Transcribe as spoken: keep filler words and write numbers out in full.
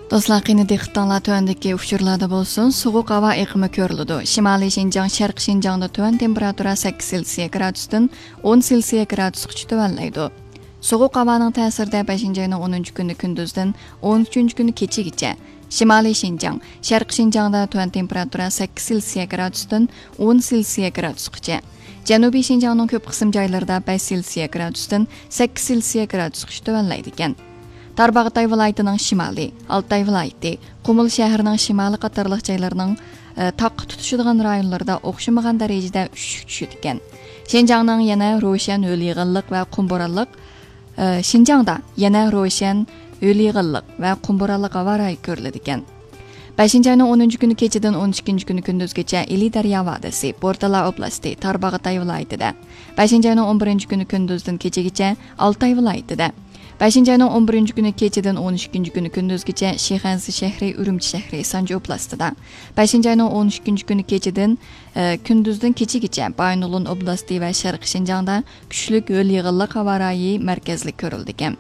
دوستلار، قېنى دىققىتىڭلار تۆۋەندىكى ئۇچۇرلاردا بولسۇن. سوغۇق ھاۋا ئېقىمى كۆرۈلىدۇ. شىمالىي شىنجاڭ، شەرقىي شىنجاڭدا تۆۋەن تېمپېراتۇرا سەككىز سېلسىيە گرادۇستىن ئون سېلسىيە گرادۇسقىچە تۆۋەنلەيدۇ. سوغۇق ھاۋانىڭ تەسىرىدە بەشىنچى ئاينىڭ ئونىنچى كۈنى كۈندۈزدىن ئون ئۈچىنچى كۈنى كېچىگىچە شىمالىي شىنجاڭ، شەرقىي شىنجاڭدا تۆۋەن تېمپېراتۇرا سەككىز سېلسىيە گرادۇستىن ئون سېلسىيە گرادۇسقىچە، جەنۇبىي شىنجاڭنىڭ كۆپ قىسىم جايلىرىدا بەش سېلسىيە گرادۇستىن سەككىز سېلسىيە گرادۇسقىچە تۆۋەنلەيدىكەن. تارباغاتاي ۋىلايىتىنىڭ شىمالى، ئالتاي ۋىلايىتى، قۇمۇل شەھىرىنىڭ شىمالى قاتارلىق جايلارنىڭ، ئە، تاغقا تۇتىشىدىغان رايونلىرىدا ئوخشىمىغان دەرىجىدە ئۈششۈك چۈشىدىكەن. شىنجاڭنىڭ يەنە روشەن ھۆل يېغىنلىق ۋە قۇم بورانلىق، ئە، شىنجاڭدا يەنە روشەن ھۆل يېغىنلىق ۋە قۇم بورانلىق ھاۋا رايى كۆرۈلىدىكەن. بەشىنچى ئاينىڭ ئونىنچى كۈنى كېچىدىن ئون ئىككىنچى كۈنى كۈندۈزگىچە ئىلى دەريا ۋادىسى، بورتالا ئوبلاستى، تارباغاتاي ۋىلايىتىدە. بەشىنچى ئاينىڭ ئون بىرىنچى كۈنى كۈندۈزدىن كېچىگىچە ئالتاي ۋىلايىتىدە. بەشىنچى ئاينىڭ ئون بىرىنچى كۈنى كېچىدىن ئون ئىككىنچى كۈنى كۈندۈزگىچە شىخەنزە شەھىرى، ئۈرۈمچى شەھىرى، سانجى ئوبلاستىدا. بەشىنچى ئاينىڭ ئون ئىككىنچى كۈنى كېچىدىن، ئە، كۈندۈزدىن كېچىگىچە بايىنغولىن ئوبلاستى ۋە شەرقىي شىنجاڭدا كۈچلۈك ھۆل يېغىنلىق ھاۋا رايى مەركەزلىك كۆرۈلىدىكەن.